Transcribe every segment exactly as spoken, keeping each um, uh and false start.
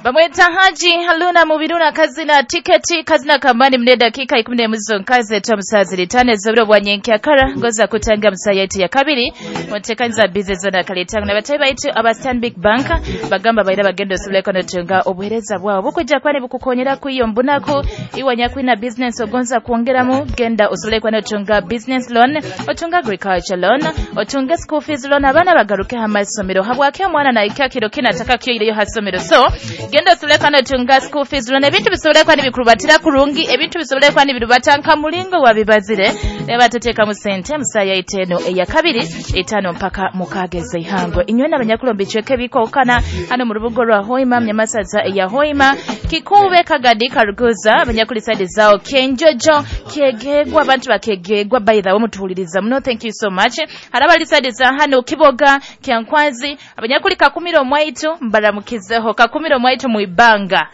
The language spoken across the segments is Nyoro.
Bamweta Haji Haluna Mubiruna kazina tiketi kazina kambani mne dakika ikumi n'emu zonka zetu musazi litane zobiro bwa nyenkyakara ngoza kutanga musaya yetu ya kabiri mutekanza bize zona kalitanga na batayi baitu aba Stanbic Bank bagamba baira bagendo osobole kunotunga obuhereza bwabo bukujja kwani bukukonyera kuiyo mbunako iwanya kwina business ogonza kuongeramu genda osobole kunotunga business loan, otunga agriculture loan, otunga school fees loan, abana bagaruke hamasomero habwake omwana na ikakiro kinataka kyo hasomero. So genda osobole kunotunga school fees loan, ebintu bisobole kwani bikurubatira kurungi, ebintu bisobole kwani birubatanka mulingo wabibazire leba tuteka mu sente musaya iteno eya kabiri itano mpaka mukageze ihangwe inywe n'abanyakulombi cheke bikokana hano mu rubugo rwa Hoima mnyamasaza ya Hoima Kikube Kagadi Karuguza abanyakuli side zao Kenjojo Kyegegwa abantu bakegegwa. By the way mutuhuliriza muno, thank you so much. Harabali side za hano Kiboga Kyankwazi abanyakuli Kakumiro mwaitu mbaramukizeho Kakumiro mwaitu muibanga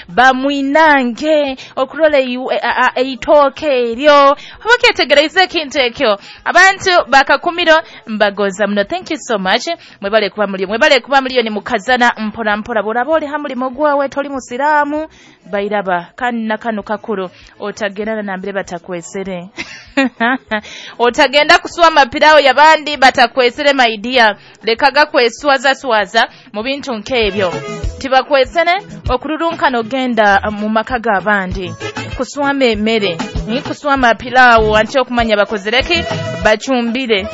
bamwinange okurole eitoke eryo obaketegereze ekintu ekyo abantu bakakumiro mbagoza muno, thank you so much. Mwebale kuba muliyo, mwebale kuba muliyo ni mukazana mpora mpora boraba oli hamulimo gwawe toli musiramu bairaba kandi nakano kakuru otagenda nambire batakwesere otagenda kuswa mapirao yabandi batakwesere my dear, lekaga kweswaza swaza mu bintu nkebyo tibakwesere okururunkana ogenda mu maka g'abandi kuswama emmere ni kuswama pilawo anti okumanya bakozereki bachumbire.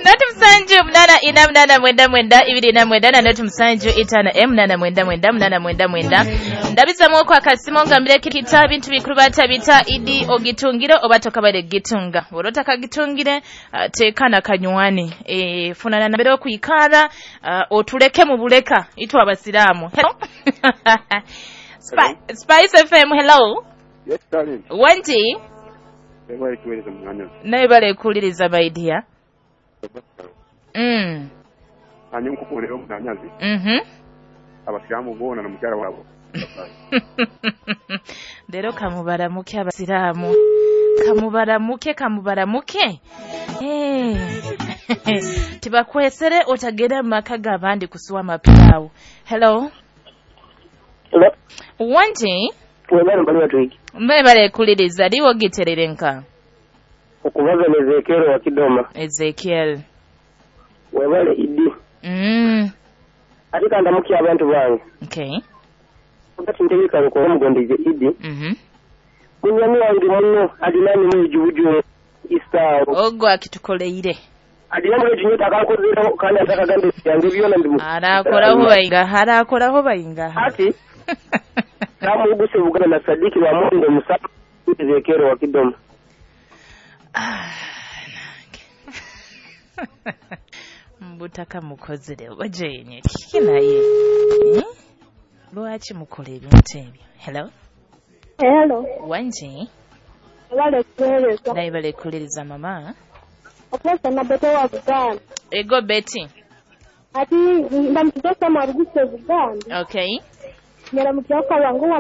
Noti msanju mnana ina mnana mwenda mwenda ibiri na mwenda na noti msanju itano em mnana mwenda mwenda mnana mwenda mwenda ndabiza mwoko akasimo ngambire kita bintu bikuru batabita idi ogitungiro obatoka bare gitunga borota kagitungire uh, tekana kanywani e, funana nambere okuikara uh, otuleke mu buleka itwa abasiramu. Spi Spice F M, hello. Yes darling. Wanji naye bale kuliriza my dear. Mm. Anyo nkukulero munanyazi. Mhm. Abasiramu bona na mukyala wabo. Lero kamubaramuke abasiramu. Kamubaramuke kamubaramuke. Eh. Tibakwesere otagera maka gabandi kusuwa mapirawo. Hello. Hello. Wanji? Webale mbali watu. Mbebale kuliriza liwo giterere nka. Okubaza ni Ezekiel wa Kidoma. Ezekiel. Webale idi. Mm. Ate kandamuki abantu bange. Okay. Wakati ntegeka ruko omugondeze idi. Mhm. Munyami wange muno adinani mujubuju isao. Ogwo akitukoleire. Adinani mujubuju akakozera kandi atakagambe yange byona ndimu. Arakoraho bayinga, arakoraho bayinga. Ati kamuguse bugana na Sadiki wa Mondo Musa Ezekiel wa Kidoma. Ah, nange. Mbutaka mukozere obajenye kiki naye eh? Lwaki mukola ebintu ebyo? Hello. Hello. Wanji? Wale kueleza. Naye bale kuliriza mama. Oposa na Betty wa Buganda. Ego Betty. Ati ndamutse sama ruguse Buganda. Okay. Nyara mutyoka wangu wa